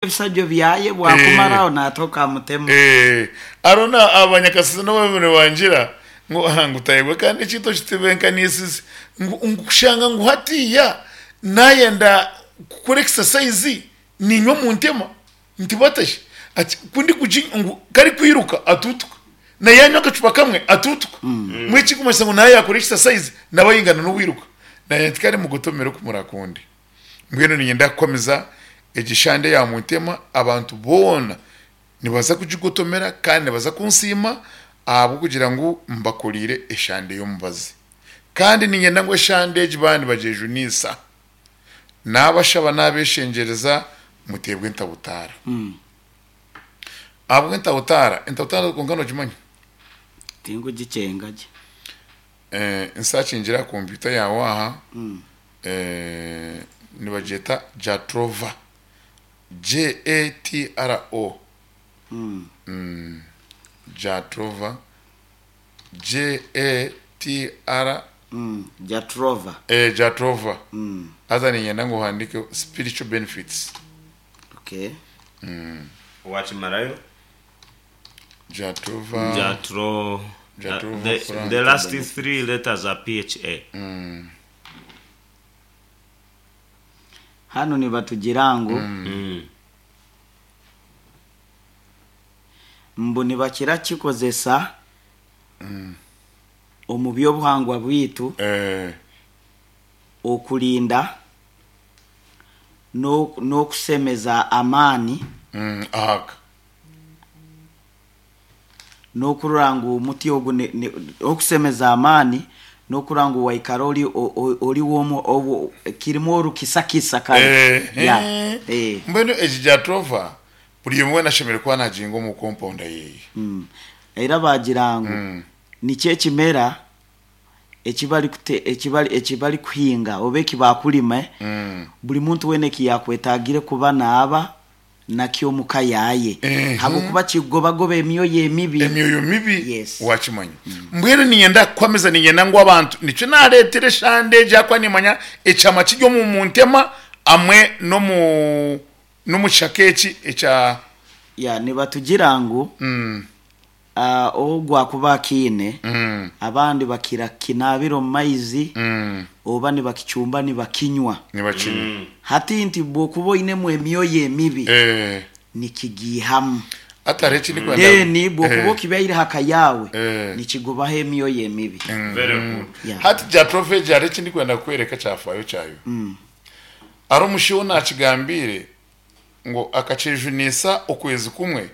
Ebisajjo byaye bwakumaraho naatoka amutema. Hariho na abanyakasizi n'obu nibangira ngu aha ngu tayebwa kandi ekintu okitebenkanisize ngu ngu kushanga ngu hatiiya nayenda kukora exercise niinywa omuntema nti bata shi ati ku ndikugi ngu ku arikwiruka atuutuka na yanywa akacupa kamwe atuutuka mbwenu ekirikumanyisa ngu naaba yakora exercise naaba ayingana n'owiruka naanye nti kare mugotomere oku murakunde. Mbwenu niinyenda kukwamiza egi shande ya Muntema, abantu boona nibaza kugigotomera kandi nibaza kunsiima ahabw'okugira ngu mbakoreire eshande y'omubazi. Kandi niinyenda ngu eshande egi baaba nibagyejuniisa, naabashaba naabeshengyereza muteebwe entabutaara. Ahabw'entabutaara, entabutaara kwonka noogimanya? Tingugikyenga gye. Nsakingira aha kompyuta yaawe aha. Nibagyeta Jatrova, J-A-T-R-O, Jatrova, J-A-T-R. Jatrova. Jatrova. Haza niinyenda ngu ohandiikeho spiritual benefits. Okay. Wakimarayo? Jatrova. Jatro. Jatrova The, the last three letters are PHA. Hanu nibatugira ngu mbu nibakira kukikozesa omu by'obuhangwa bwaitu okurinda n'okusemeza amaani Aga. N'okurora ngu omuti ogu okusemeza amaani, n'okurora ngu waikara ori ori w'omu kirimu orukisakisa kare. Yeah. Eh. Mbwenu egi Jatropha buri omwe weena ashemereire kuba naginga omu compound yeye. Era baagira ngu nikyo ekimera eki barikute eki bari eki barikuhinga oba eki baakurima buri muntu weena eki yaakwetaagire kuba naaba nakyo omu ka yaaye, ahabw'okuba kikugobagoba emyoyo emibi. Emyoyo mibi Yes. wakimanya. Mbwenu niinyenda kukuhamiza niinyenda ngu abantu nikyo naareetera eshande egi ahakuba niimanya ekyama kiri omu muntema hamwe n'omu n'omu kishaka eki ekya Ya, nibatugira ngu Ogu akuba akiine, abandi bakira kukinaabira omu maizi oba nibakicumba nibakinywa. Nibakinywa. Hati nti bw'okuba oinemu emyoyo emibi, nikigiihamu. Hati hariho eki ndikwenda. Then bw'okuba okibyaire aha ka yaawe, nikigobaho emyoyo emibi. Very good. Yeah. Hati Jatropha egi hariho eki ndikwenda kukworeka ekyafaayo kyayo. Hariho omushaija ou naakigambiire ngu akakyejunisa okwezi kumwe,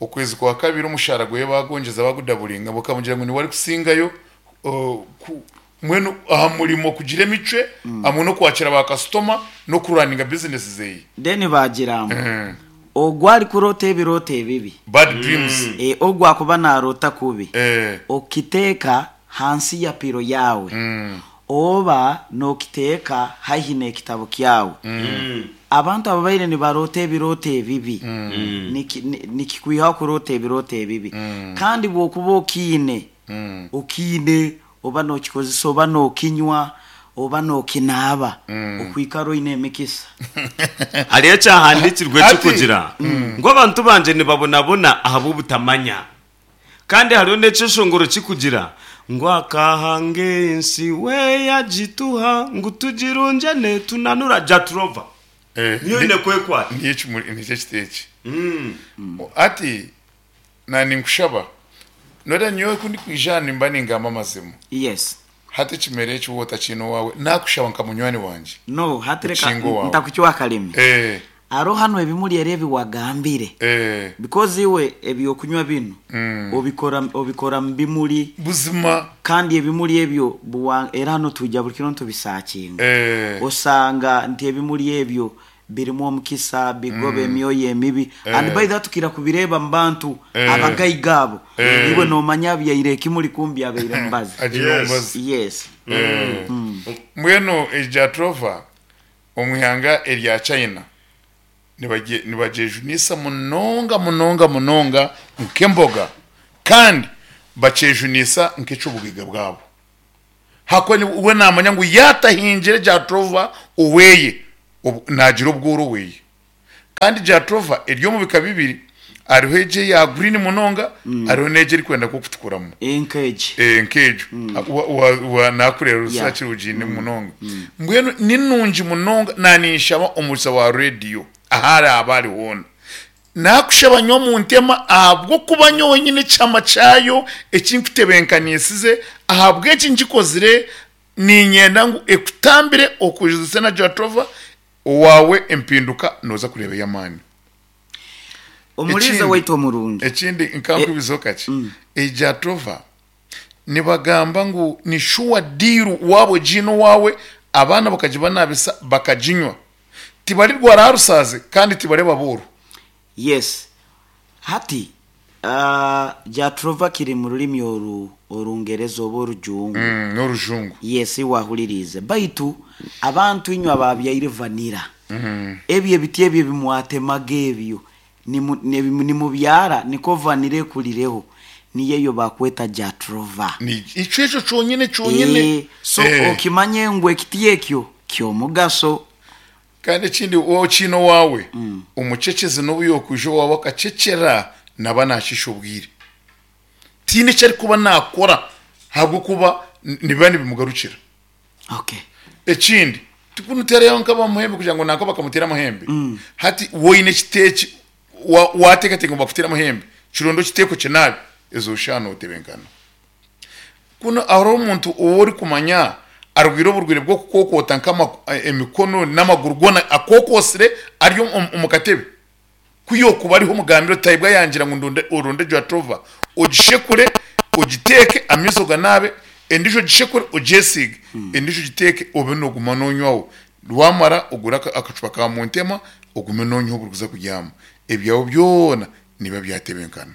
Okwezi kwa kabiri omushaara gweye baagwongyeza baagudaburinga bakamugira ngu niwe arikusingayo mbwenu aha murimo kugira emicwe hamwe n'okwakira ba kasitoma n'okuraninga bizinesi zeye. Then baagira ngu ogwo arikuroota ebirooto ebibi, Bad dreams. Ogwo akuba naaroota kubi, okiteeka hansi ya piro yaawe oba nookiteeka haihi n'ekitabo kyawe. Abantu ababaire nibaroota ebirooto ebibi, nikikwihaho kuroota ebirooto ebibi. Kandi bw'okuba okiine, okiine oba nookikozesa oba nookinywa oba nookinaaba, okwikara oine emikisa. Hariho ekyahandiikirwe Hati. ekirikugira ngu abantu bangye nibabonabona ahabw'obutamanya. Kandi hariho n'ekyeshongoro kirikugira ngu akahanga ensi we yagituha ngu tugirungyane tunanura Jatrova. Eh, Niyo oine kwekwata. Niyo ekimuri nikyo ekiti eki. Hati na ninkushaba noreeba nyowe ku ndikwija aha nimba ningamba amazima. Yes. Hati ekimera eki waaba otakiine owaawe nakushaba nka munywani wangye. No, hati reka Okinge owaawe. ntakucwa akarimi. Eh. Hariho hanu ebimuri eri ebi wagambire. Eh. Because iwe ebyokunywa binu obikora obikora mu bimuri. Buzima. Kandi ebimuri ebyo buwa era hanu twija buri kiro nitubisakinga. Eh. Osanga nti ebimuri ebyo birimu omukisa, bigoba emyoyo emibi. And by the way tukira kubireeba mu bantu abagaiga abo. Iwe nomanya abyaire ekimuri kumbi abaire mubazi. Agiire Yes. omubazi. Yes. Mbwenu egi Jatropha omu ihanga erya China nibagyejunisa munonga munonga munonga nk'emboga kandi bakyejunisa nk'eky'obugaiga bwabo. Ahakuba we naamanya ngu yaatahingire Jatropha oweye, naagira obworo oweye. Kandi Jatropha eri omu bika bibiri, hariho egyo eya green munonga, hariho n'egyo erikwenda nk'okutukuramu. Nk'egi. Eh, nk'egyo. Wa- wa- wa- Naakureeba Yeah. rusakire ogiine munonga. Mbwenu ni nungi munonga, naaninshaba omurisa wa rediyo ahu araabe ari hoona. Naakushaba nywa omu ntema ahabw'okuba nyowe nyine ekihama kyayo eki nkutebenkaniisize, ahabw'enki ngikozire, niinyenda ngu ekutambire okujuzise na Jatropha, Owaawe empinduka nooza kureeba ey'amaani. Omuriisa Ekindi, waitu omurungi. ekindi nkankubizeho kakye, Ejatova nibagamba ngu ni shuwa diiru waaba ogiine owaawe abaana bakagibanabisa bakaginywa tibarirwara aha rusaazi kandi tibareba booro. Yes. Hati, Jatrovah kiri mu rurimi oru Orungereza oba Orujungu. N'Orujungu. Yes, iwe ahuririize. Baitu abantu inywe ababyaire vanilla, ebyo ebiti ebyo ebi mwatemaga ebyo nimu, nebi nimubyara niko vanilla ekurireho, niyo eyo bakweta Jatrovah. Ni ekyo ekyo kyonyine kyonyine. So okimanye ngu ekiti ekyo ky'omugaso. Kandi ekindi waaba okiine owaawe, omuceceze n'obu yookwija owaawe akacecera, naaba naashiisha obwire. Tihaine eki arikuba naakora ahabw'okuba nibiba nibimugarukira. Okay. Ekindi, tikunuterayo nk'abamuhembe kugira ngu nanka bakamuteera amahembe. Hati waaba oine ekiteeki, wa- waateekateeka ngu bakuteere amahembe, kironde okiteeke okinaabe, ezo shaaha nootebenkana. Kunu hariho omuntu ou orikumanya arwaire oburwaire bw'okukookoota nk'emikono n'amaguru goona akookoosire ari omu katebe? Ku yookuba ariho omugambire oti Taibwa yangira ngu ndonde oronde Jatropha ogishekure ogiteeke amaizi oganaabe, endiijo ogishekure ogyesiige, endiijo ogiteeke obe nooguma noonywaho. Waamara ogure akacupa ka Montema ogume noonywaho buri kuza kubyama. Ebyawe byona nibiba byatebenkana.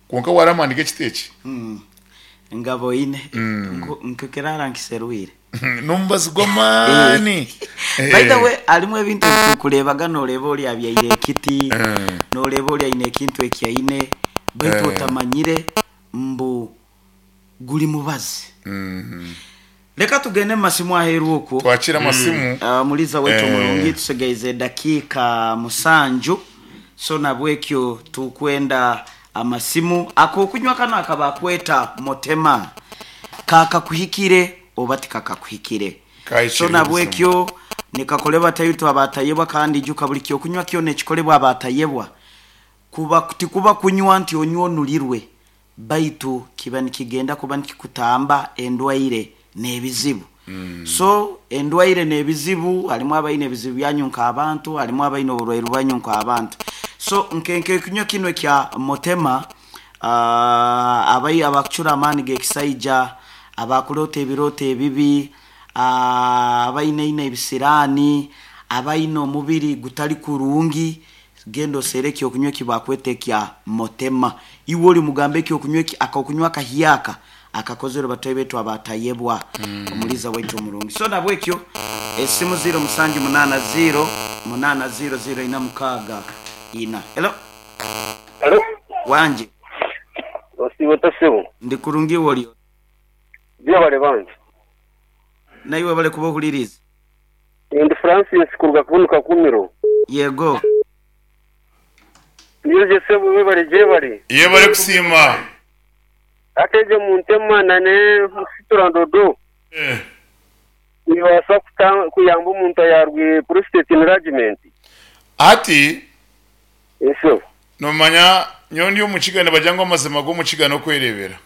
Kwonka wareeba amaani g'ekiti eki. Ngabo oine. Nkukiraara nkiserwire. N'omubazi gw'amaani. By the way, harimu ebintu ebi turikureebaga nooreeba ori abyaire ekiti, nooreeba ori aine ekintu eki aine, baitu otamanyire mbu guri mubazi. Reka tugende omu masimu aheeru okwo. Twakire amasimu. Omuriisa waitu omurungi, tusigaize edakiika musanju, so nabwekyo tukwenda amasimu. Ak'okunywa kanu aka bakweta Motema, kakakuhikire oba tikakakuhikire? So Kahikire buzima. nabwekyo nikakoreba taitwe abatayebwa kandi ijuka buri ky'okunywa kyona ekikolebwa abatayebwa kuba tikuba kunywa nti onywe onurirwe. Baitu kiba nikigenda kuba nikikutamba endwaire n'ebizibu. So endwaire n'ebizibu, harimu abaine ebizibu byanyu nk'abantu, harimu abaine oburwaire bwanyu nk'abantu. So nke nk'ekinywa kinu ekya Motema, abai abakucura amaani g'ekisaija, abakuroota ebirooto ebibi, abaine eine ebisiraani, abaine omubiri gutari kurungi, Genda oseere eky'okunywa eki baakweta ekya Motema. Iwe ori mugambe eky'okunywa eki, ak'okunywa akahyaka akakozerwe bataahi baitu abaatayebwa Omuriisa waitu omurungi. So nahabwekyo esimu ziiro musanju munaana ziiro munaana ziiro ziiro ina mukaaga ina. Hello. Hello. Wangye. Osiiba ota sebo? Ndi kurungi iwe ori ota? Gyebare bambi. Naiwe webale kuba ohuririize. Ndi Francis kuruga kunu Kakumiro. Yego. Nyoje sebo webare gyebare. Yebare kusiima. Hati egyo muntema na ne musitura ndodo nibaasa kuyamba omuntu ayarwire prostate enlargement? Hati Eeh sebo. nomanya nyowe ndi omukiga nibagira ngu amazima g'omukiga n'okwerebera.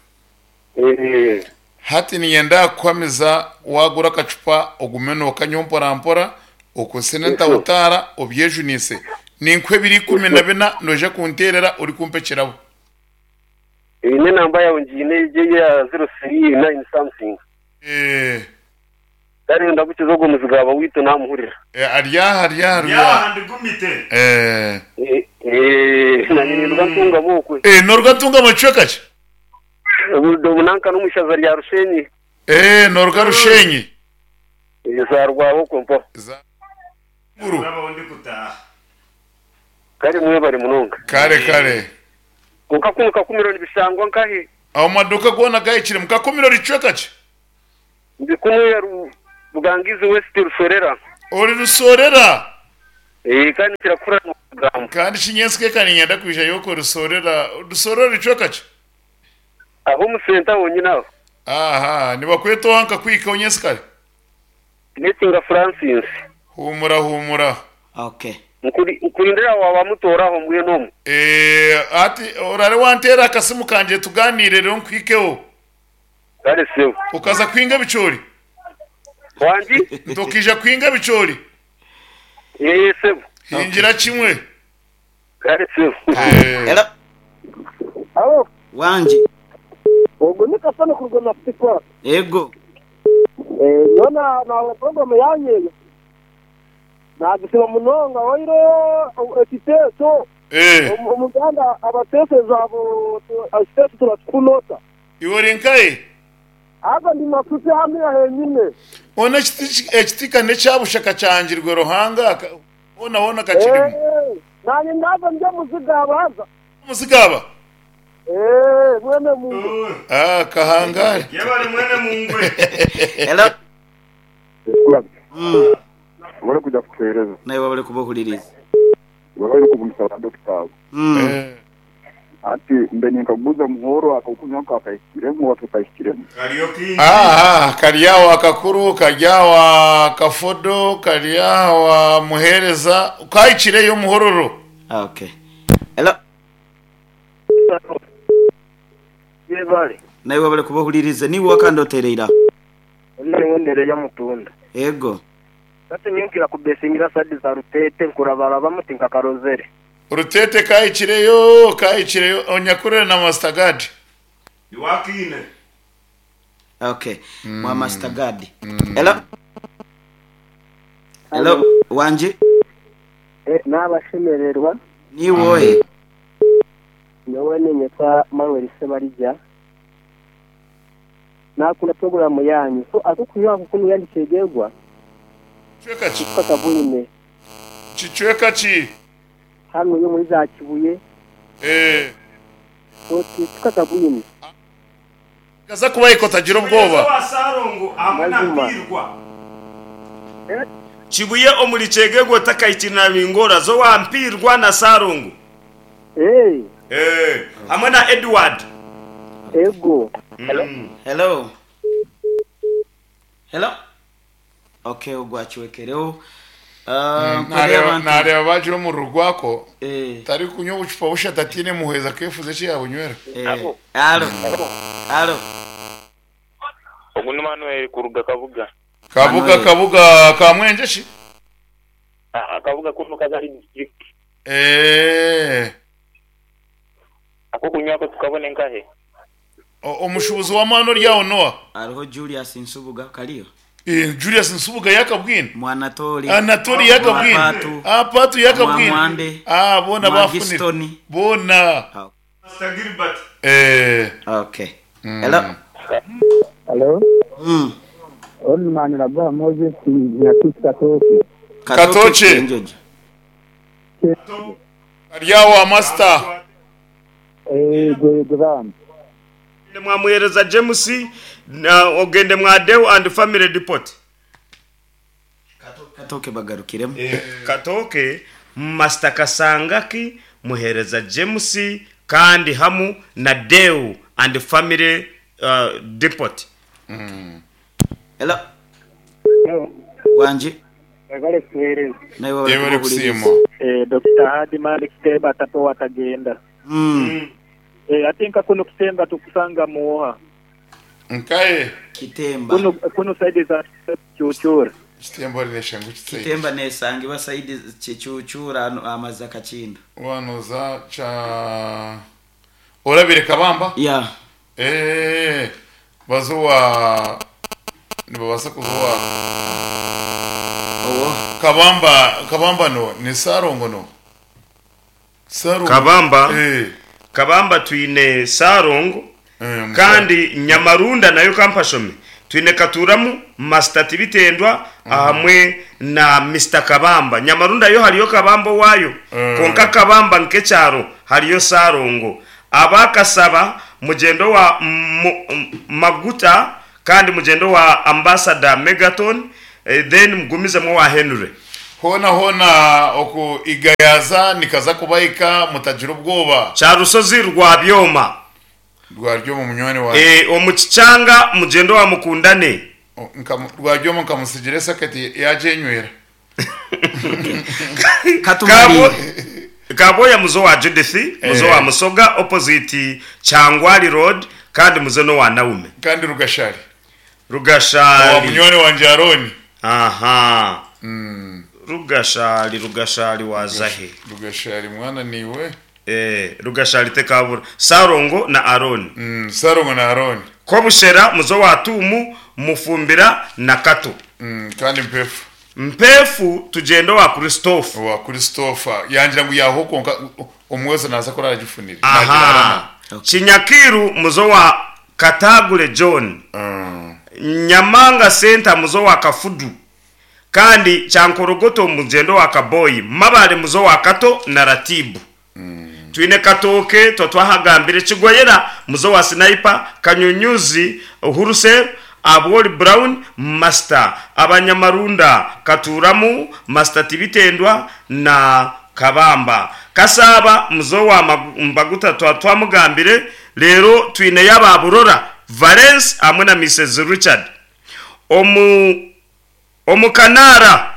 Hati niinyenda kukuhamiza waagura akacupa ogume nookanywa mporampora, okozese n'entahutaara obyejunise. Ninkuha ebiro 14 noija kunteerera orikumpa ekirabo. Eine enamba yaawe ngiine egyo eya 039 something. Kare ndagukiza ogwo muzigu aba owaitu naamuhurira. Ari aha, ari aha, ari Ndi aha aha. ndigumite. Nanye ninduga Ntungamo okwe. Nooruga Ntungamo kicweka ki? Obu nanka n'omu ishaza rya Rushenyi. Nooruga Rushenyi. Zaarwaho okwo mpaho. Za Ruguru. Ndabaho ndikutaaha. Kare mwebare munonga. Kare kare. Kwonka kunu Kakumiro nibishangwa nkahi? Aho maduuka goona gahikire. Mu Kakumiro ori kicweka ki? Ndi kunu ya Bugangizi West Rusorera. Ori Rusorera? Eeh kandi kirakura n'okugambo. Kandi shi nyentsika eka niinyenda kwijayo okwe Rusorera. Rusorera ricweka ki? Aho omu senta honyine aho. Aha, nibakweta oha nkakuhikaho nyensikare? Nesinga Francis. Huumura huumura. Okay. Nkurindire aho waaba mutoora aho mbwenu omu. Eeh hati orare wanteera akasimu kangye tugaaniire reero nkuhikeho. Kare sebo. Okaza kuhinga ebicoori? Wangi? Nti okaija kuhinga ebicoori? Eeh sebo. Hingira kimwe. Kare sebo. Eeh. Hello. Alo, Wangi. ogu ni Kasana kuruga Nafutikwata. Ego. Eh, nyowe na nahurira puroguramu yanyu eyo nagisiima munonga waire ekiteeso Eeh. omu Uganda abateeseza abo ekiteeso turakikunota. Iwe ori nkahi? Haza ndi Masuti haniya henyine. Hoona ekiti ka n'ekya busha kakyangirwe Ruhanga, hoona hoona kakirimu. Eeh, nanye ndaza ndi omuzigaba haza. Omuzigaba? Eeh, mwene mungwe. Ah, kahangare. Yebare mwene mungwe. Hello. Webale kuja kutuhereza. Naiwe webale kuba ohuririize. Webale n'okugumisa ba dokita abo. Hati mbe ninkaguza Muhoro akokunywa kakahikiremu oba tikahikiremu? Kariyo kaingi. Aha, kari aho akakuru, kari aho akafodo, kari aho muheereza, kahikireyo omuhororo. Okay. Hello. Yebare. Naiwe webale kuba ohuririize. Niiwe wakandi oteereire aho. Nyowe Nereya Mutunda. Ego. Hati nyowe nkira kubesingira side za Rutete nkurabarabamu tinkakarozere. Rutete kahikireyo, kahikireyo, onyakurire na Master Guard. Iwakiine. Okay. Mwa Master Guard. Hello. Hello. Wangi. Nabashemererwa. Niiwe ohe? Nyowe ninyetwa Manuel Sebarija. Nakunda puroguramu yanyu. So akokunywa ako kunuya nikyegyegwa. Kicweka ki? Tukakabwine. Kicweka ki? Hanu yo muri za Kibuye. Eh. So tukakabwine. Kaza kuba otagira obwoba. Wa Sarongo hamwe na Mazima. Mpirwa. Kibuye omuri Kyegegwa otakahikire na Bingora zo wa Mpirwa na Sarongo. Eh. Eh, hamwe na Edward. Ego. Hello. Hello. Okay, ogwo acwekereho. Nkorera abantu. Nareeba bagira omururu gwako Eh. tarikunywa obucupa bushatu atiine muhwezi akeefuza eki yaabunywera. Eh. Alo. Alo. Ogu ni Manuel kuruga Kabuga. Kabuga Manuel. Kabuga ka Mwenje shi? Kabuga kunu Kazari district. Eh. Ako kunywako tukabona enkahe. Omushubuzi w'amaani ori aho Noah. Hariho Julius Nsubuga kariyo. Eh, Julius Nsubuga yakabwine. Mwanatori. Anatori yakabwine. Mwapatu. Ah, Patu yakabwine. Mwamwande. Ah, bona bafunire. Mwagistoni. Bona. Master Gilbert. Eh. Okay. Hello. Hello? Old Raguha Moses Nyakisi Katooke. Katooke. Enjojo. Kari aho Master. Ego ego bambi. Mwamuhereza James na ogende mwa Deo and Family Depot. Katooke bagarukiremu. Katooke Master Kasangaki muhereza James kandi hamu na Deo and Family Depot. Hello. Wangi. Webale kutuhereza. Naiwe webale Yebale kuba ohuririize. kusiima. Eh, Dr. Hadi Malik Kitemba tato watagenda. Eh, ate nka kuno Kitemba tukusanga muoha. Nkaye. Kitemba. Kuno kuno side za Chuchura. Kitemba rinesha ngu kitse. Kitemba nesangibwa saidi Kichuchura amazi akakindu. Wanoza cha Orabire Kabamba? Yeah. Eh. Bazuwa nibabasa kuzuwa. Owo. Kabamba, Kabamba no, ni Sarongo no. Sarongo. Kabamba. Eh. Kabamba twine Sarongo Eh, kandi Nyamarunda nayo kampashome. Twine Katuramu Master Tibitendwa hamwe na Mr Kabamba. Nyamarunda yo hariyo Kabamba wayo. Konka Kabamba nkekyaro hariyo Sarongo. Abakasaba mugendo wa Maguta kandi mugendo wa Ambassador Megaton then mugumizemo wa Henry. Hoona hoona oku Igayaza nikaza kubahika mutagira obwoba. Kyarusozi rwa Byoma. Rwaryoma munywani wangye. Eeh omu Kikyanga mugyende owa Mukundane. Rwaryoma nkamutsigira esaketi yagyenywera. Katumarire. Kabwoya muze owa Judith, muze owa Musoga opposite Kyangwali road kandi muze n'owa Naume. Kandi Rugashari. Rugashari. Owa munywani wangye Arooni. Aha. Rugashari, Rugashari waaza he? Rugashari mwana niiwe. Eeh, Rugashari tekaabura. Sarongo na Arooni. Sarongo na Arooni. Kobushera muze owa Tuumu, Mufumbira na Kato. Kandi Mpeefu. Mpeefu tugyende owa Christophe. Owa Christopher. Yangira ngu yaaho kwonka omwojo naaza kora aragifunire. Aha. Kinyakiiru muze owa Kataagure John. Nyamanga Center muze owa Kafudu. Kandi Kyankorogoto mugyende owa Kaboyi. Mabare muze owa Kato na Ratibu. Twine Katooke twa twahagambire, Kigoyera muze owa Sniper, Kanyunyuzi, Hurusel, Abwoli Brown, Master, Abanyamarunda, Katuuramu, Master Tibitendwa na Kabamba. Kasaaba muze owa Mbaguta twa twamugambire, reero twineyo aba Burora, Valens hamwe na Mises Richard. Omu Omu Kanaara,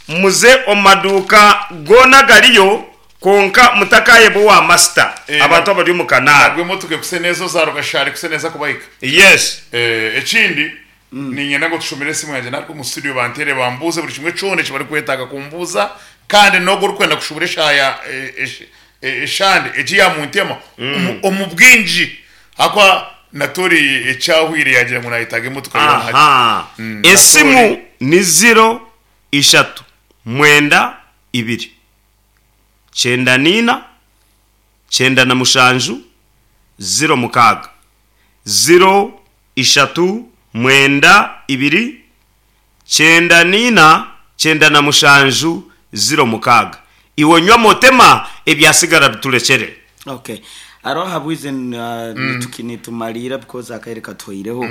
muze omu maduuka goona agariyo kwonka mutakaayeba owa Masita. Abantu abari omu Kanaara. Nabwo emotoka ekuse neza oza Rugashari ekuse neza kubahika. Yes. Ekindi, niinyenda ngu otushomere esimu yangye naruga omu studio banteere bambuuze buri kimwe kyona eki barikwetaaga kumbuuza kandi n'ogwo orikwenda kushubura eshaaha eshande egi ya muntema omu bwingi ahakuba Natori ekyahwire yagira ngu nayetaaga emotoka yoona hati. Aha. Esimu ni ziro ishatu mwenda ibiri, kyenda n'ina, kyenda na mushanju, ziro mukaaga. Ziro ishatu mwenda ibiri, kyenda n'ina, 97 06. Iwe onywe amotema, ebyasigara biturekyere. Okay. Hariho ahabwize nitumariira because akaire katuhweireho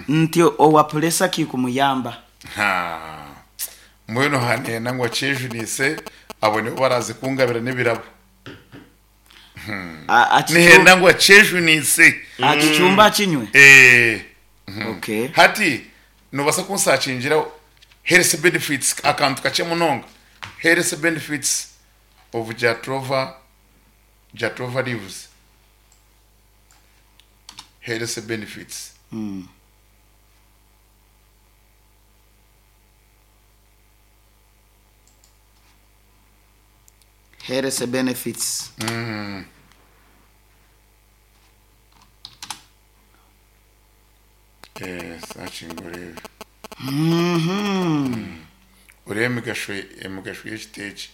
nti owa puresa kikumuyamba. Haa. Mbwenu haneena ngu akyejunise abo nibo baraaze kungabira n'ebirabo. Nihenda ngu akyejunise. Akicumbe akinywe? Eeh. Okay. Hati nobaasa kunsakingira health benefits akantu kakye munonga health benefits of Jatropha Jatropha leaves health benefits. Health benefits. Eh, searching oreebe. Oreebe emigasho emigasho y'ekiti eki.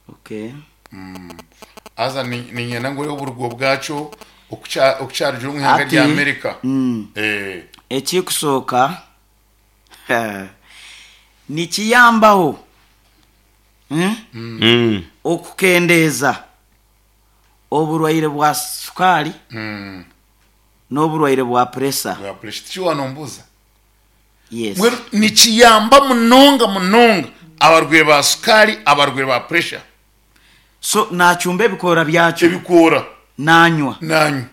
Okay. Haza ni- niinyenda ngu oreebe oburugo bwakyo oku kya- oku kyarugire omu ihanga Hati, rya Amerika. Eh, Ekikusooka nikiyambaho okukendeeza oburwaire bwa sukaali n'oburwaire bwa puresa. Bwa pressure. Tikyo wanombuuza? Yes. Mbwenu nikiyamba munonga munonga abarwaire ba sukaali, abarwaire ba pressure. So nacumba ebikoora byakyo. Ebikoora. Nanywa. Nanywa.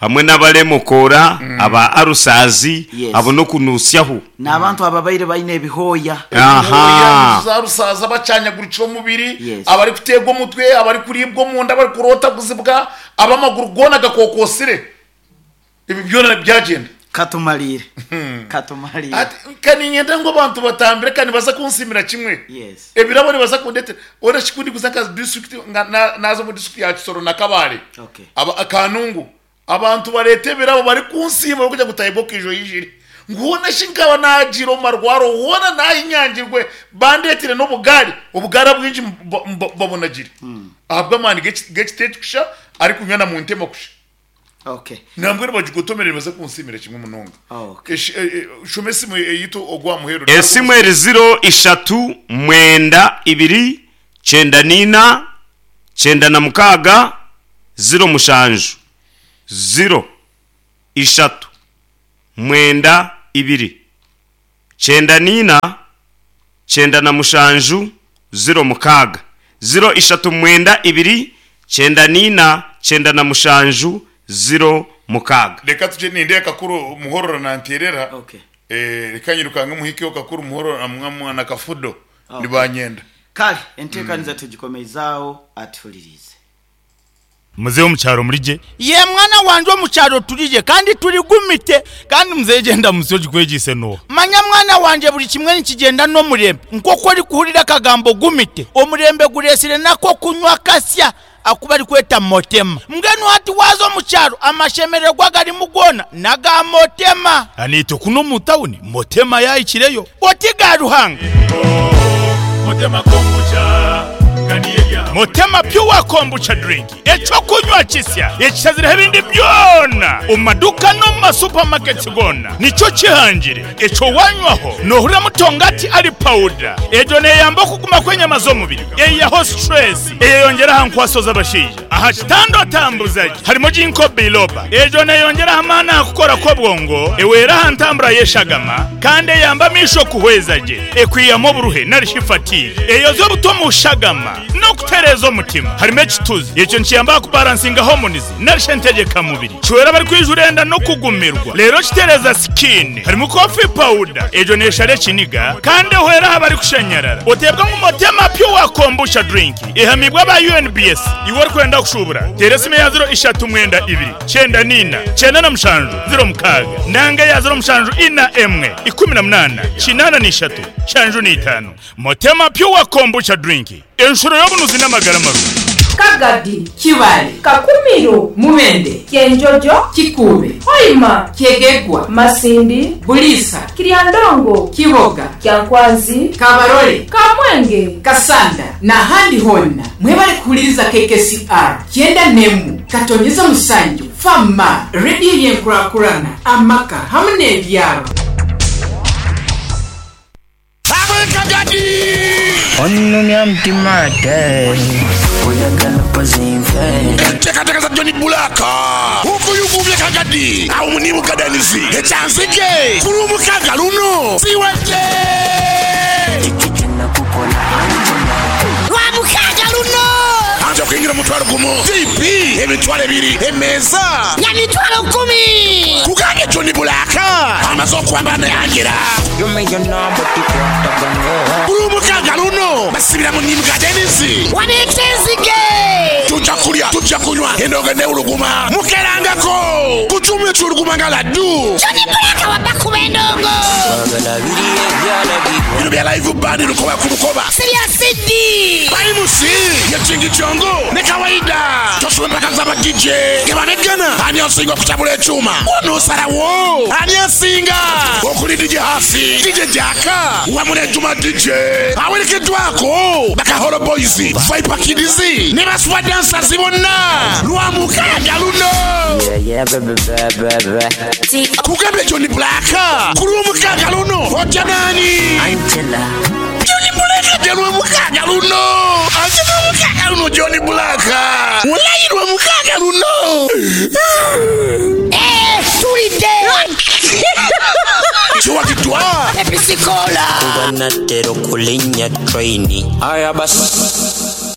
Hamwe n'abaremokoora, aba arusaazi, Yes. abo n'okunuusyaho. N'abantu ababaire baine ebihooya. Ebihooya, za rusaazi, abakyanyagurikire omubiri, Yes. abarikuteegwa omutwe, abarikuriibwa omunda, abarikurootaguzibwa, ab'amaguru goona gakookoosire. Ebi byona byagyenda. Katumariire. Katumariire. Ati, Ka niinyenda ngu abantu batambire, ka nibaza kunsiimira kimwe. Yes. Ebirabo nibaza kundetera. Ora shi ku ndikuza nka district, nga na- naaza omu district ya Kisoro na Kabale, Okay. aba, Kanungu, abantu bareeta ebirabo barikunsiima barikugira ngu Tayebwa okiija oijire. Ngu hoona shi nkaba naagiire omu marwaro, hoona naahinyangirwe, bandeetire n'obugaari, obugaari abwingi mba- mba- mbabonagire. Ahabw'amaani g'eki- g'ekiti eki kusha, arikunywa na muntema kusha. Okay. Nambwenu bagigotomere nibaza kunsiimira kimwe munonga. Okay. Esh- e- e, Shoma esimu eyitu ogwa muheru. Esimu eri ziro ishatu mwenda ibiri 94 96 07 0 3 9 ibiri, kyenda n'ina, 97, 06. Ziro ishatu mwenda ibiri, 94, 97, 06. Reka tugye nindeeba Kakuru Muhororo nanteerera. Okay. Eh, reka nyirukange muhikeho Kakuru Muhororo na, na Kafudo Okay. nibanyenda. Kale enteekaniza tugikomezaaho atuhuririize. Muzehe omu kyaro muri gye? Yee mwana wangye omu kyaro turi gye kandi turi gumite. Kandi muzehe gyenda musyo ogikwegyeise nooha? Manya mwana wangye buri kimwe nikigyenda n'omurembe. Nk'oku orikuhurira akagambo gumite, omurembe gureetsire n'ak'okunywa akasya aku barikweta motema. Mbwenu hati waaza omu kyaro amashemererwa agarimu goona n'aga motema. Naitwe kunu omu tawuni motema yaahikireyo. Oti ga Ruhanga. Motema Pure Kombucha Drink, eky'okunywa kisya ekishazireho ebindi byona omu maduuka n'omu ma supermarkets goona nikyo kihangire. Ekyo wanywaho nohuriramu tongati ari powder. Egyo neyamba okuguma kw'enyama z'omubiri, eyihaho stress, eyeyongyera aha nkwaso z'abashaija. Aha kitanda otambuza gye harimu Ginkgo biloba. Egyo neyongyera aha maani aha kukora kw'obwongo, ehwera aha ntambura y'eshagama kandi eyamba amaisho kuhweza gye. Ekwihamu oburuhe nari shi fatigue. Eyozya obuta omu shagama n'okutereeza omutima. Harimu ekituzi. Ekyo nikiyamba aha kubaransinga hormones nari shi entegyeka mubiri. Kihwera abarikwijura enda n'okugumirwa. Reero kitereeza skin. Harimu coffee powder. Egyo neeshara ekiniga kandi ehwera aha barikushanyarara. Oteebwa ngu Motema Pure Kombucha Drink ehamiibwe aba UNBS. Iwe orikwenda kushuubura, teera esimu eya ziro ishatu mwenda ibiri, 94, 97, 06 nanga eya ziro mushanju ina emwe, 18, 83, 75. Motema Pure Kombucha Drink, enshuro y'obunuzi n'amagara marungi. Kagadi. Kibale. Kakumiro. Mubende. Kyenjojo. Kikuube. Hoima. Kyegegwa. Masindi. Buliisa. Kiryandongo. Kiboga. Kyankwanzi. Kabarole. Kamwenge. Kasanda n'ahandi hoona. Mwebale kuhuliriza KKCR kyenda n'emu katonyeza musanju Fama, rediyo y'enkurakurana, amaka hamu n'ebyaro. Onnumya mutima ate. Enteekateeka za John Blaq okuyuguumya Kagadi awo ni Bugadanizi ekyanzige ku Lwomukaaga luno ziwedde! Lwamukaaga luno! Anti okuyingira omutwalo gumu, VP emitwalo ebiri, emeeza. Ya mitwalo kumi! Kugambye John Blaq amaze okwambala nayangira. Ku Lwomukaaga luno basibira mu Nim Gardens. Wabeeta enzige! Tujja kulya, tujja kunywa, endongo n'ewuluguma. Mukerangako ku kyuma ekiwuluguma nga laddu. John Blaq wabba kuba endongo! Bino bya live band lukoba ku lukoba. Si bya CD! Bayimusi ye Kingi Kyongo ne Kawaida. Tosubwa empaka za ba DJ ge baneggana ani asinga okutabula ekyuma. Onoosalawo ani asinga okuli DJ Hafi, DJ Jaka wamu ne Juma DJ awerekeddwako Bakaholo Boys, Viper Kids ne ba Super Dancers bonna Lwamukaaga luno. Kugambye John Blaq ku Lwomukaaga luno ojja naani? John Blaq ajja Lwomukaaga luno. Ajja Lwomukaaga luno John Blaq. Walayi Lwomukaaga luno. Eh, tulidde! Kiwagiddwa Episikola! Kuba natera okulinnya train. Aya basi.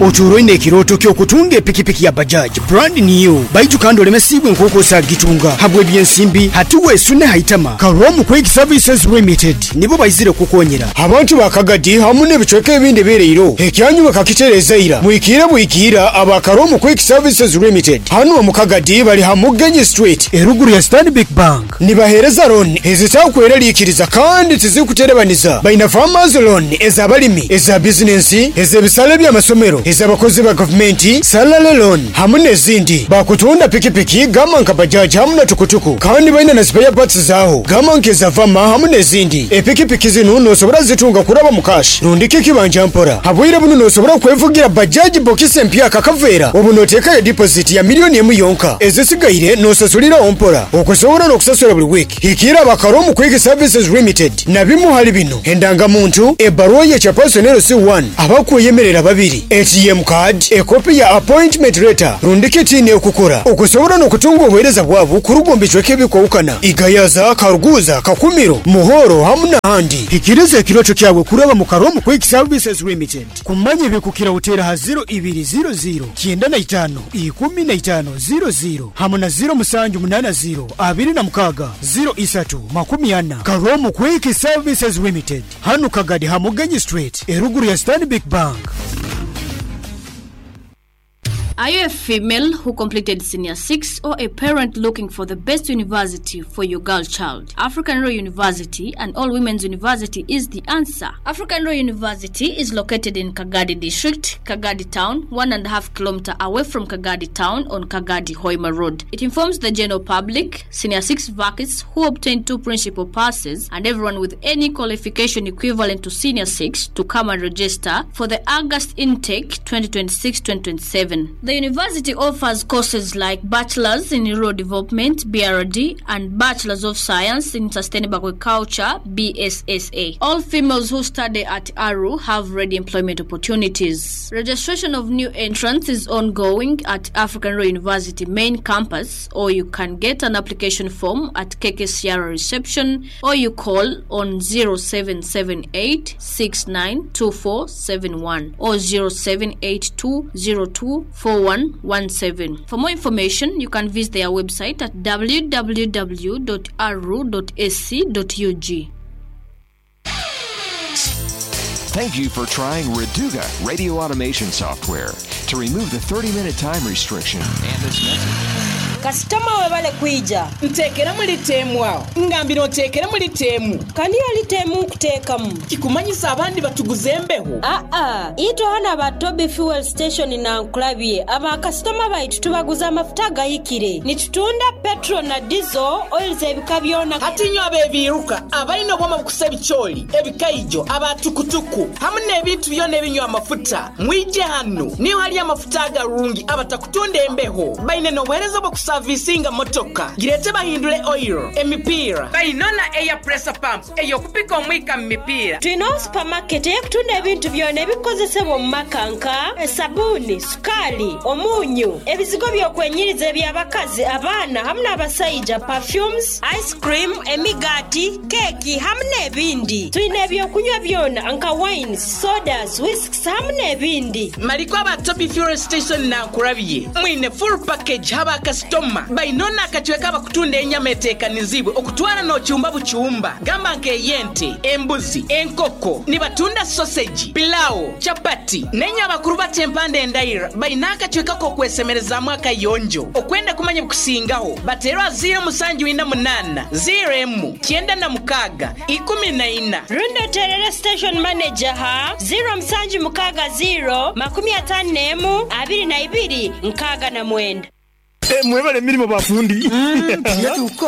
Otuura oine ekirooto ky'okutunga epikipiki ya Bajaj brand new baitu kandi olemesiibwe nk'oku osagitunga habw'ebyensimbi hati weesune ha itama. Karomu Quick Services Limited nibo baizire kukukonyera. Abantu ba Kagadi hamu n'ebicweka ebindi ebireire ekyanyu bakakitereeza ira. Mwikiire bwikiira aba Karomu Quick Services Limited hanu omu Kagadi bari ha Mugenyi Street eruguru ya Stanbic Bank. Nibaheereza looni ezitakweraliikiriza kandi tizirikuterebaniza. Baine Farmers Loan ez'abarimi, eza bizinensi, ez'ebisare by'amasomero, ez'abakozi ba gavumenti, Salary Loan hamu n'ezindi. Bakutunda pikipiki gamba nka Bajaj hamu na tukutuku kandi baine na spare parts zaaho gamba nk'eza Vama hamu n'ezindi. Epikipiki zinu nosobora zitunga kuraba mu cash rundiki ekibanja mpora. Habwire bunu nosobora kwevugira Bajaj bokisi empyaka akaveera obu noteekayo deposit ya million emu yonka ezisigaire nosasuliraho mpora. Okusobola n'okusasula buli wiiki, hikiira aba Karomu Quick Services Limited na bimu hali bino, Endangamuntu, ebbaruwa ye Chairperson LC1, abakweyemerera babiri, eti. ATM card, ekopi ya appointment letter rundi kiti n'ekukora okusobora n'okutunga obuheereza bwabo kuruga omu bicweka ebikwahukana, Igayaza, Karuguza, Kakumiro, Muhoro hamu n'ahandi. Hikiriza ekirooto kyawe kuraba mu Karomu Quick Services Limited. Kumanya ebikukira oteera ha ziro ibiri ziro ziro, 95, 15, ziro ziro hamu na ziro musanju munana ziro, 26, 03, 40. Karomu Quick Services Limited. Hanu Kagadi ha Mugenyi Street eruguru ya Stanbic Bank. Are you a female who completed senior 6 or a parent looking for the best university for your girl child? African Royal University and All Women's University is the answer. African Royal University is located in Kagadi District, Kagadi Town, 1.5 kilometer away from Kagadi Town on Kagadi Hoima Road. It informs the general public, senior 6 vacancies who obtained two principal passes, and everyone with any qualification equivalent to senior 6 to come and register for the August intake 2026 2027. The university offers courses like Bachelor's in Rural Development BRD and Bachelor's of Science in Sustainable Agriculture BSSA. All females who study at ARU have ready employment opportunities. Registration of new entrants is ongoing at African Rural University main campus, or you can get an application form at KKCR reception, or you call on 0778 692471 or 0782 024117. For more information, you can visit their website at www.aru.ac.ug. Thank you for trying Reduga radio automation software to remove the 30 minute time restriction and this message. Kasitoma webale kwija. Nteekeramu lita awo. Ngambira onteekeremu lita emu. Kandi yo lita emu nkuteekamu. Kikumanyisa abandi batuguza embeho? Aa, itwe ghano aba Toby Fuel Station Nankulabye, aba kasitoma baitu tubaguza amafuta agahikire. Nitutunda petrol na diesel, oils ebika byona. Hati inywe ab'ebiiruka, abaine obwoma bukusa ebicoori, ebikaijo, aba tukutuku hamu n'ebintu byona ebinywa amafuta, mwije hanu. Niho hari amafuta agarungi abatakutunda embeho. Baine n'obuheereza obw'okusavisinga motoka. Gireete bahindure oil, emipiira. Baine na air pressure pump ey'okupika omwika mu mipiira. Twine supamaketi ey'okutunda ebintu byona ebikozesebwa omu maka nka, esabuuni, sukaali, omunyu, ebizigo by'okwenyiriza eby'abakazi, abaana hamu n'abasaija, perfumes, ice cream, emigaati, keeki hamu n'ebindi. Twine eby'okunywa byona nka wines, sodas, whisks hamu n'ebindi. Mariko aba Toby Fuel Station Nankurabye mwine full package ha bakasitoma. Baine n'akacweka abakutunda enyama eteekanizibwe okutwara n'okyumba bukyumba gamba nk'ey'ente, embuzi, enkoko. Nibatunda sausage, pilau, chapati n'enye abakuru bata empanda endaira baine akacweka k'okwesemerezaamu akayonjo. Okwenda kumanya ebikusingaho bateerwe aha ziiro musanju ina munaana, ziiro emu, 96, 14. Rundi oteerere station manager ha 0760 51 22 69. Mwebale emirimo bafundi.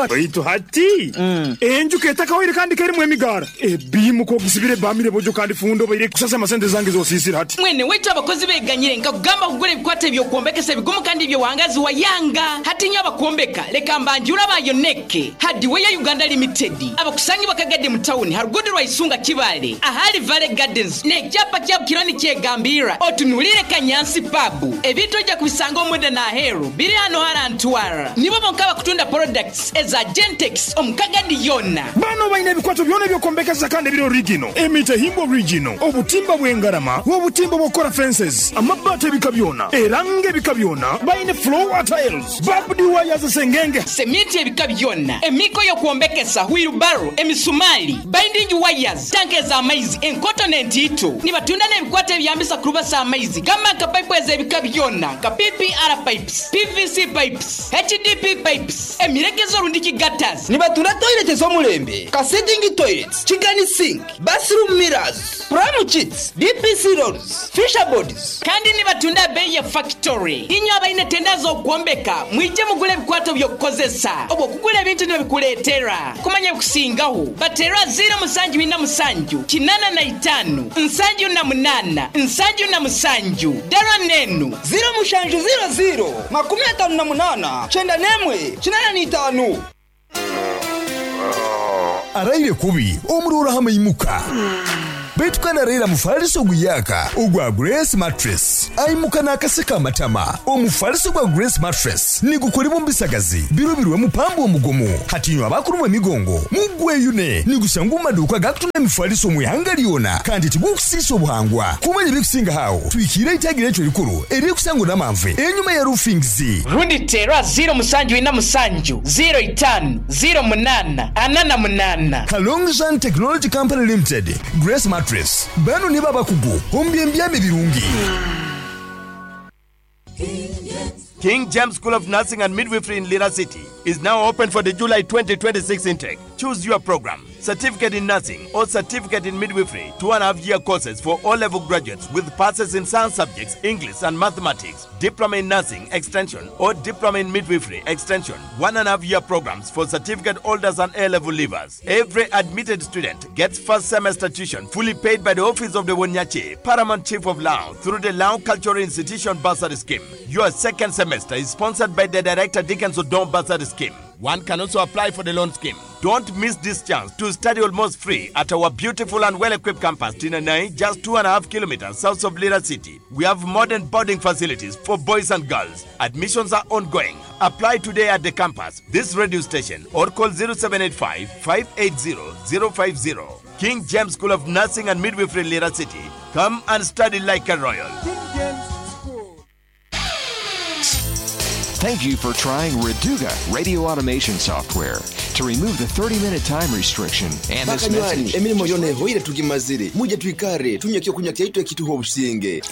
Baitu hati enju ketakawire kandi kerimu emigara ebimu kogisibire bamire bojo kandi fundo baire kusasa amasente zange zosisira hati. Mwene waitu abakozi beganyire nkakugamba kugura ebikwata eby'okwombekesa ebigumu kandi ebyowangazi wayanga. Hati nyo abakwombeka leka mbanjura bayoneke Hardware Uganda Limited abakusangibwa Kagadi mu tawuni harugudu rwa Isunga Kibale ahali Valley Gardens n'ekyapa kyabo kironi kyegambira otunulire Kanyansi pub ebintu ojja kubisanga omunda n'aheeru biri hano harantwara nibo bonka bakutunda products eza Gentex omu Kagadi yona. Bano baine ebikwato byona eby'okwombekesa kandi ebiri original, emitahimbwa original, obutimba bw'engarama, obutimba bw'okukora fences, amabaati ebika byona, erangi ebika byona, baine floor tiles, barbed wires sengenge, seminti ebika byona, emiko y'okwombekesa, wheelbarrow, emisumali, binding wires, tanka ez'amaizi, enkoto n'entiito. Nibatunda n'ebikwato ebyambisa kurubasa amaizi gamba nka pipe ez'ebika byona nka PPR pipes, PVC pipes, HDP pipes, emiregezo rundiki gutters. Nibatunda toilet ez'omulembe, ka sitting toilets, chicken sink, bathroom mirrors, pram sheets, DPC rolls, fisher boards. Kandi nibatunda bei ya factory. Inywe abaine tenda z'okwombeka mwije mugule ebikwato by'okukozesa obwo okugula ebintu nibikuleetera kumanya ebikusingaho bateerwa ziro musanju ina musanju 85 78 77 dara nenu ziro mushanju ziro ziro 58 91 85. Araire kubi omurora hamaimuka baitu kandi araira mufaliso oguyaka ogwa Grace Mattress. Aimuka n'akaseko amatama. Omufaliso gwa Grace Mattress nigukolebwa omu bisagazi birubirwemu pamba omugumu. Hati inywe abakurumwa emigongo, mugweyune! Nigushangwa omu maduuka agakutunda emifaliso omu ihanga lyona kandi tigukusiisa obuhangwa. Kumanya ebirikusingaho aho, twikiire eitaagi ryaitu erikuru eririkusangwa Namanve enyima ya Roofings. Rundi teera 0747 05 08 48. Kalongzhan Technology Company Limited, Grace Mattress, banu nibo abakugu omu by'embyama ebirungi. King James School of Nursing and Midwifery in Lira City is now open for the July 2026 intake. Choose your program Certificate in Nursing or Certificate in Midwifery, 2.5 year courses for all level graduates with passes in science subjects, English and Mathematics, Diploma in Nursing Extension or Diploma in Midwifery Extension, 1.5 year programs for certificate holders and A level leavers. Every admitted student gets first semester tuition fully paid by the Office of the Wonyachi, Paramount Chief of Lao, through the Lao Cultural Institution Bursary Scheme. Your second semester is sponsored by the Director Dickens Odon Bursary Scheme. One can also apply for the loan scheme. Don't miss this chance to study almost free at our beautiful and well equipped campus, Tinanai, just 2.5 kilometers south of Lira City. We have modern boarding facilities for boys and girls. Admissions are ongoing. Apply today at the campus, this radio station, or call 0785 580 050. King James School of Nursing and Midwifery, Lira City. Come and study like a royal. Thank you for trying Reduga radio automation software. To remove the 30 minute time restriction and this Bakanywani, message, emirimo yona ehoire tugimazire, muje twikare tunywe ekyokunywa kyaitu ekituha obusinge.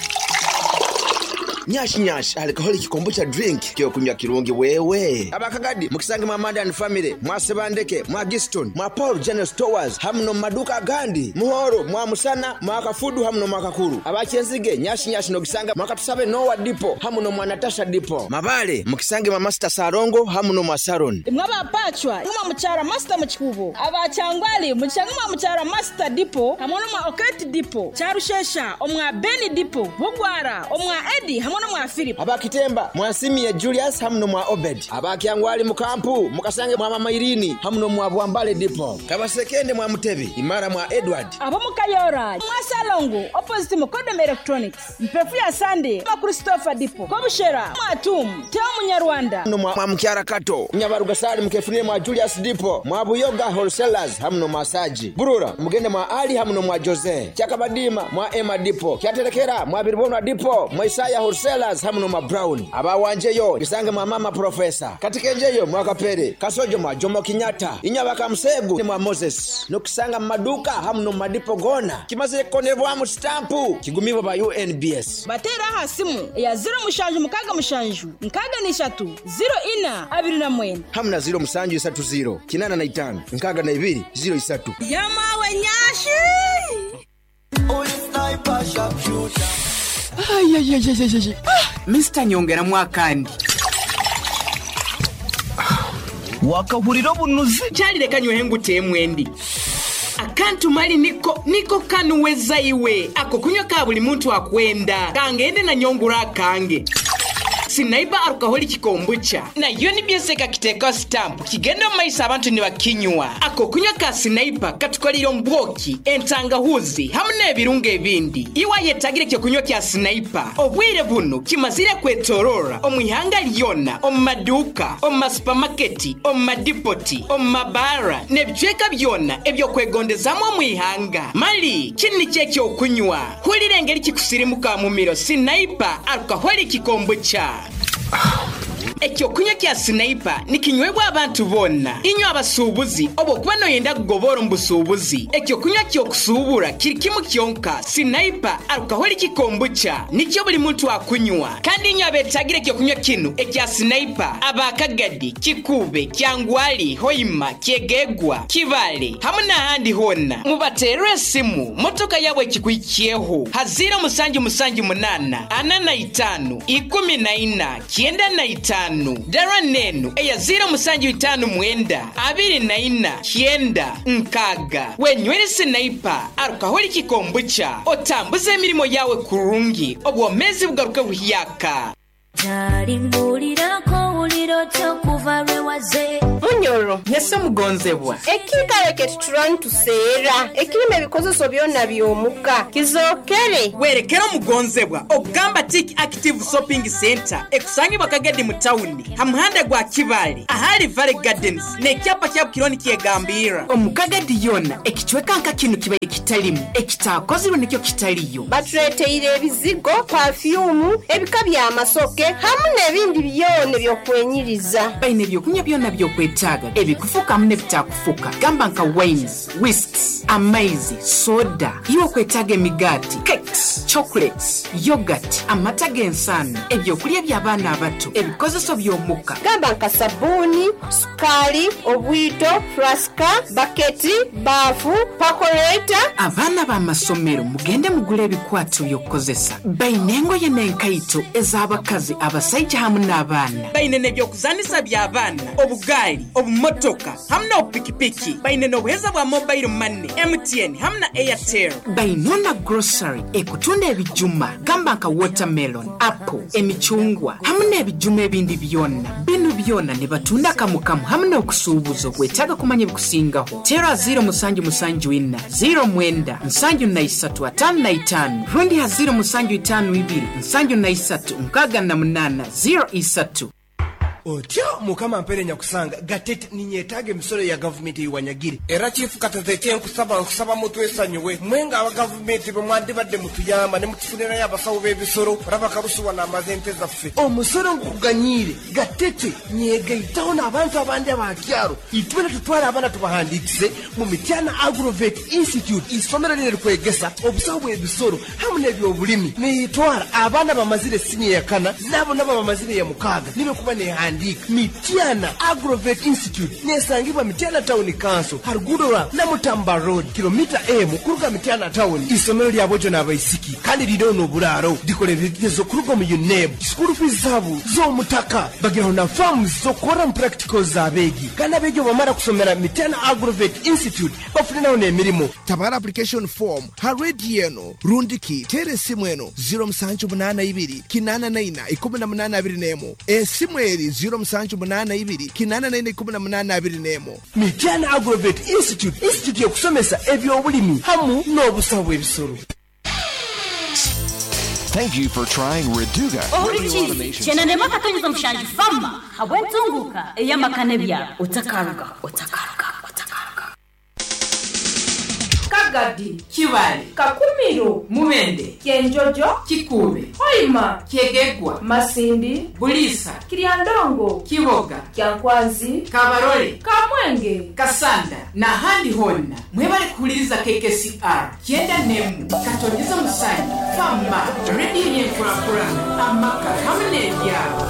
Nyashi nyashi alcoholic kombucha drink kyokunywa kirungi wewe. Abakagadi mukisange mwa Amanda and family, mwa Sebandeke, mwa Giston, mwa Paul General Stores, hamuno mu maduka agandi, muhoro mwa Musana, mwa Kafudu hamuno mwa Kakuru. Abakyenzige nyashi nyashi nogisanga mwa Katusabe Noah Depot hamuno mwa Natasha Depot. Mabale mukisange mwa Master Sarongo hamuno mwa Saron. Imwe abapacwa mwa mukyara Master mu kikubo, abakyangwali mukisange mwa mukyara Master Depot hamwe n'omwa Oketi Depot, Kyarushesha omwa Beni Depot, Bugwara omwa Edi hamwe n'omwa Philip. Abakitemba mwasimie Julius hamuno mwa Obed. Abakyangwali mukampu mukasange mwa Mama Irini hamuno mwa Bwambale Depot. Kabasekende mwa Mutebi, Imara mwa Edward. Ab'omukayora mwa Salongo opposite Mukodom Electronics, Mpefu ya Sunday mwa Christopher Depot, Kobushera mwa Tum Teo Munyarwanda. Hamuno mwa Mukyara Kato, Nyabarugasali mukefunire mwa Julius Depot, mwa Buyoga Wholesalers hamuno mwa Saji. Burura mugende mwa Ali hamuno mwa Jose. Kyakabadima mwa Emma Depot. Kyaterekera mwa Biribonwa Depot, mwa Isaya Wholesalers hamuno mwa Brown. Abawanjeyo bisange mwa Mama Professor. Katikenjeyo mwa Kapere, Kasojo mwa Jomo Kenyatta, Inyabaka Musegu mwa Moses. Nokusanga mu maduka hamuno mu madipo gona. Kimaze kukonebwamu stampu kigumibwa ba UNBS. Bateera aha simu eya 0767 63 04 29. Hamuna 0730 85 62 03. Yamawe nyashi. Mr nyongeramu akandi. Wakahurira obunuzi. Kyalireka nywehe nguteemu endi akantu mali niko niko kanuweza iwe ako kunywa ka buli muntu akwenda kangende na nyongura akange. Sinaiba alcoholic kombucha nayo nibyeseka kiteka stamp kigenda mu maiso abantu nibakinywa. Ako kunywa ka sinaipa katukolera ombwoki, entangahuzi hamwe n'ebirungo ebindi. Iwa yetagire ekyo kunywa kya sinaipa obwire buno kimazire kwetorora omu ihanga lyona, omu maduuka, omu masupamaketi, omu madipoti, omu mabaara n'ebicweka byona ebyokwegondezamu omu ihanga. Mali kini nikyo ekyokunywa, hulira engeri kikusirimuka mumiro. Sinaipa alcoholic kombucha. Ekyokunywa kya sinaipa nikinywebwa abantu bonna. Inywe abasuubuzi, oba okuba noyenda kugobora omu busuubuzi, ekyokunywa kyokusuubura kiri kimu kyonka, sinaipa alcoholic kombucha, nikyo buli muntu akunywa. Kandi inywe abetagire ekyokunywa kinu ekya sinaipa, abakagadi, kikube, kyangwali, hoima, kyegegwa, kibale hamwe n'ahandi hona, mubaterere esimu motoka yabwe ekikuhikyeho ha 0778 45 14 95. Dara nenu eya 0759 24 9 6. Wenywere sinaipa alcoholic kombucha, otambuze emirimo yawe kurungi, obwomezi bugaruke buhyaka. Kyali mbuulirako, wulira otya okuva lwe Munyoro. Yes omugonzebwa. Ekiikaro kye tutura nituseera ekirimu ebikozeso byona by'omuka kizookere. Werekere omugonzebwa okugamba Tik Active Shopping Centre ekusangibwa Kagadi mu tawuni ha muhanda gwa Kibaale ahali Valley Gardens n'ekyapa kya Bukiro nikyegambirra. Omu Kagadi yoona ekicweka nka kinu kibaire kitalimu, ekitaakozirwe nikyo kitaliyo. Batureeteire ebizigo, pafyumu, ebika by'amasoke hamu n'ebindi byona eby'okwenyiriza. Baine ebyokunywa byona by'okwetaaga, ebikufuka hamu n'ebitakufuka gamba nka wines, whisks, amaizi, soda, iwe okwetaaga emigaati, cakes, chocolates, yoghurt, amata g'ensaano, ebyokulya eby'abaana abato, ebikozeso by'omuka. Gamba nka sabbuuni, sukaali, obwito, furasika, baketi, baafu, pakoreeta. Abaana b'amasomero mugende mugule ebikwato by'okukozesa. Baine engoye n'enkaito ez'abakazi, abasaija hamu n'abaana. Baine n'eby'okuzanisa by'abaana, obugaali, obumotoka hamu n'obupikipiki. Baine n'obuheereza bwa mobile money, MTN hamu na Airtel. Baine na grocery ekutunda ebijuma gamba nka watermelon, apple, emicungwa hamu n'ebijuma ebindi byona. Binu byona nibatunda kamukamu hamu n'okusuubuza. Okwetaaga kumanya ebikusingaho, teera ziiro musanju musanju ina, ziiro mwenda, nsanju na isatu, ataano na itaano rundi ha ziiro musanju itaano ibiri, nsanju na isatu, nkaaga na munaana, ziiro isatu. Otyo Mukama ampeere nyakusanga Gatete ninyetaaga emisoro ya gavumenti ei wanyagire. Era Chief Katete kyenkusaba nkusaba mutwesanyuwe mwe nga aba gavumenti bwemwandibadde mutuyamba nemutufunirayo abasawo b'ebisoro olaba Karusu wano amaze ente zaffe. Omusoro ngukuganyiire Gatete nyegaitaho n'abantu abandi aba kyaro itwena tutware abaana tubahandiikise mu Mityana Agrovet Institute isomero linu erikwegesa obusawo bw'ebisoro hamu n'ebyobulimi nitwara abaana abamazire siniya yakana nabo nabo abamazire eyamukaaga nibe kuba nehandiika Mityana Agrovet Institute nesangibwa Mityana Town Council ha ruguudo rwa Namutamba Road kilomita emu kuruga Mityana Town. Isomero lya bojo n'abaisiki kandi riineho n'oburaaro rikora ebigezo kuruga omu UNEB. School fees zaabo z'omutaka bagiraho na farms z'okukorramu practicals z'abeegi kandi abeegi obu bamara kusomera Mityana Agrovet Institute bafuniraho n'emirimo. Tabara application form ha radio eno rundi ki teera esimu eno 0782 84 18 21. Esimu eri 0782 84 18 21. Mityana Agrovet Institute, institute y'okusomesa eby'obulimi hamu n'obusaho bw'ebisoro. Thank you for trying Reduga Radio Ohurikiize Automation. kyenda n'emwe akatonyeza mushanju fama habw'entunguka ey'amaka n'ebyaro. Otakaruga, otakaruga, otakaruga. Kagadi, Kibaale, Kakumiro, Mubende, Kyenjojo, Kikuube, Hoima, Kyegegwa, Masindi, Buliisa, Kiryandongo, Kiboga, Kyankwanzi, Kabarole, Kamwenge, Kasanda n'ahandi hoona. Mwebale kuhuliriza KKCR kyenda n'emu katonyeza musanju fama rediyo y'enkurakurana amaka hamwe n'ebyaro.